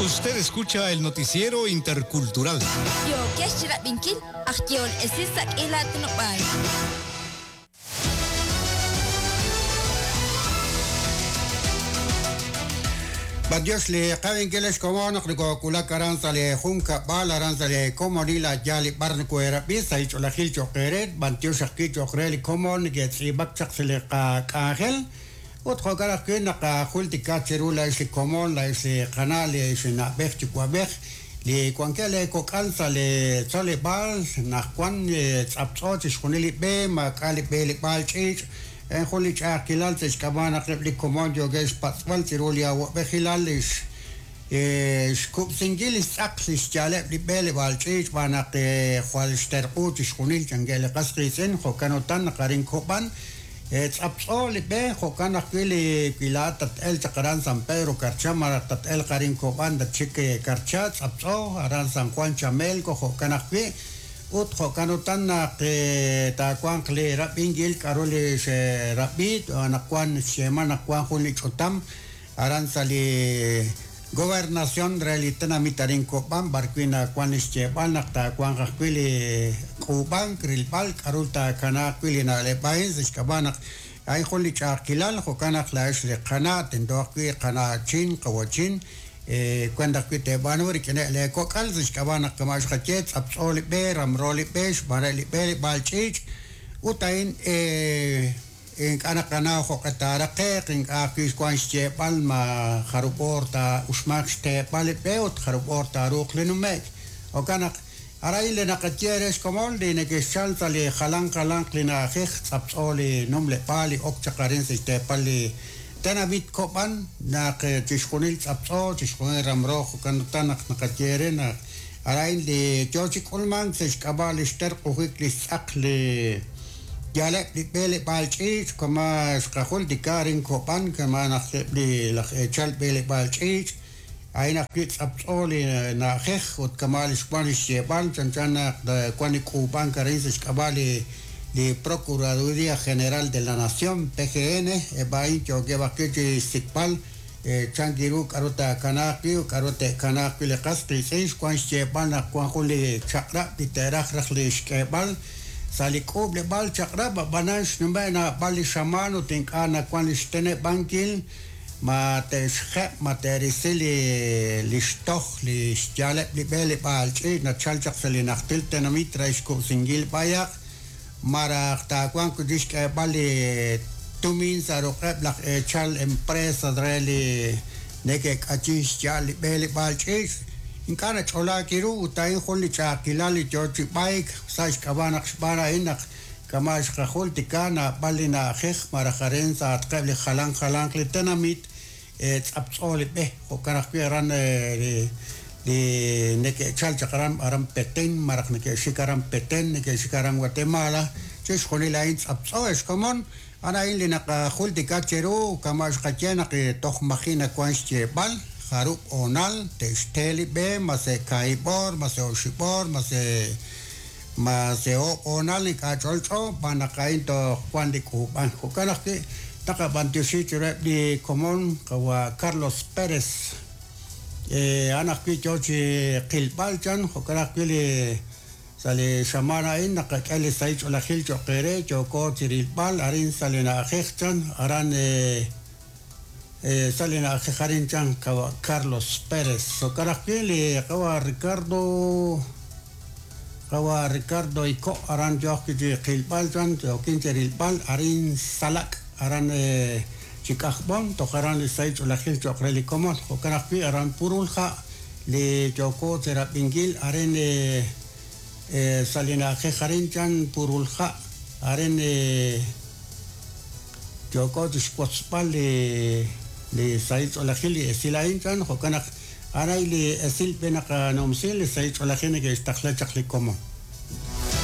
Usted escucha el noticiero intercultural. Yookex chirab'inkil aj yehol esil sa' k'iila aatinob'aal. B'antiox li qab'inkil ex komon naq nokowulak aran sa' li junkab'al aran sa' li komonil a' yaal li b'ar nokoheerab'i sa' li ch'oolejil cho'q eere. B'antiox ajwi' cho'q re li komon neke'tz'iib'ak chaq sa' li qak'anjel. Ut jo'kan ajwi' naqajultika cheru laa'ex li komon, laa'ex li qana', li na'b'ej yuwa'b'ej, li wankeb' leekok'al sa' li tzoleb'aal, naq wan tz'aptz'o chixjunil li b'e, maak'a' li b'eleb'aal ch'iich', a'in jun li ch'a'ajkilal sa' xk'ab'a' naq eb' li komon yookeb' xpatz'b'al chiru li awa'b'ejilal li xkub'sinkil li xtz'aq li xyaaleb' li b'eleb'aal ch'iich' xb'aan naq jwal xterq'u chixjunil chankeb' li qas qiitz'in, jo'kan utan naq arin Kob'an tz'aptz'o li b'e, jo'kan ajwi' li wi laa'at tat-elq chaq aran San Pedro Carchá malaj tat-elq arin Kob'an tatxik Carchá, tz'aptz'o aran San Juan Chamelco, jo'kan ajwi' ut jo'kan utan naq taawanq li rab'inkil k'a'ru li xerab'i anaqwan xyeeman naq wan jun li ch'utam aran sa' li Gobernación re li tenamit arin Kob'an b'arwi' nawan li xyeeb'al naq taawanq ajwi' li k'uub'ank rilb'al k'a'ru taakanaaq wi' li na'leb' a'in sa' xk'ab'a' naq a'in jun li ch'a'ajkilal jo'kan naq laa'ex li qana' tento ajwi' qana'chin qawachin weent ajwi' teeb'aanu rik'ineb' leekok'al sa' xk'ab'a' naq kama' xqaye tz'aptz'o li b'e ramro li b'e xb'aan li b'eleb'aal ch'iich' ut a'in ink'a' naqanaw jo'q'e taaraqe'q, ink'a' ajwi' xwank xyeeb'al ma jarub' oor taa'uxmanq xteeb'al li b'e ut jarub' oor taaruuq li nume'k. Jo'kan naq arin li naqaye re xkomon li neke'xchal sa' li jalan jalanq li na'ajej tz'aptz'o li numleb'aal li ok chaq arin sa' xteepal li tenamit Kob'an naq chixjunil tz'aptz'o, chixjunil ramro jo'kan utan naq naqaye re naq arin li yo chi k'ulmank sa' xk'ab'a' li xterq'ujik li xtz'aq li yaaleb' li b'eleb'aal ch'iich' kama' xqajultika arin Kob'an kama' naq eb' li laj eechal b'eleb'aal ch'iich' a'in ajwi' tz'aptz'o li na'ajej ut kama' li xwan li xyeeb'al chanchan naq wan li k'uub'ank arin sa' xk'ab'a' li li Procuraduría General de la Nación, PGN, eb' a'in yookeb' ajwi' chi xsik'b'al chan ru k'a'ru taakanaaq wi' ut k'a'ru te'kanaaq wi' li qas qiitz'in xwan xyeeb'al naq wan jun li chaq'rab' li te'raj raj li xk'eeb'al sa' li k'uub'leb'aal chaq'rab' ab'anan xnume' naab'al li xamaan ut ink'a' nawan li xteneb'ankil ma te'xjeb' ma te'risi li li xtoj li xyaaleb' li b'eleb'aal ch'iich' nachal chaq sa' li najtil tenamit re xkub'sinkil b'ayaq malaj taawanq wi' chik xk'eeb'al li tumin sa' ruq'eb' laj eechal empresas re li neke'k'ayin xya'al li b'eleb'aal ch'iich' ink'a' nach'olaak ru ut a'in jun li ch'a'ajkilal li yo chi b'ayk sa' xk'ab'a' naq xb'aan a'in naq kama' xqajultika naab'al li na'ajej malaj arin sa'atqeb' li jalan jalanq li tenamit tz'aptz'o li b'e jo'kan ajwi' aran li neke'chal chaq aran aran Petén malaj neke'xik aran Petén neke'xik aran Guatemala chixjunil a'in tz'aptz'o ex komon a'an a'in li naqajultika cheru kama' xqaye naq toj maji' nawan xyeeb'al jarub' hoonal te'xte li b'e ma se kaahib' oor ma se oxib' oor ma se ma se oob' hoonal ink'a' ch'olch'o xb'aan naq a'in toj wan li k'uub'ank jo'kan ajwi' naqab'antioxi chiruheb' li komon qawa' Carlos Pérez a'an ajwi' yo chi qilb'al chan jo'kan ajwi' li sa' li xamaan a'in naqak'e li sahil ch'oolejil cho'q eere yooko chi rilb'al arin sa' li na'ajej chan aran sa' li na'ajej arin chan qawa' Carlos Pérez jo'kan ajwi' li qawa' Ricardo qawa' Ricardo Iko aran yo ajwi' chi qilb'al chan yookin chi rilb'al arin Salak' aran chi K'ajb'om toj aran li sahil ch'oolejil cho'q re li komon jo'kan ajwi' aran Purulha' li yooko chi rab'inkil arin sa' li na'ajej arin chan Purulha' arin yooko chi xwotzb'al li li sahil ch'oolejil li esil a'in chan jo'kan naq a'an a'in li esil b'e naqanumsi li sahil ch'oolejil neke'xtaqla chaq li komon.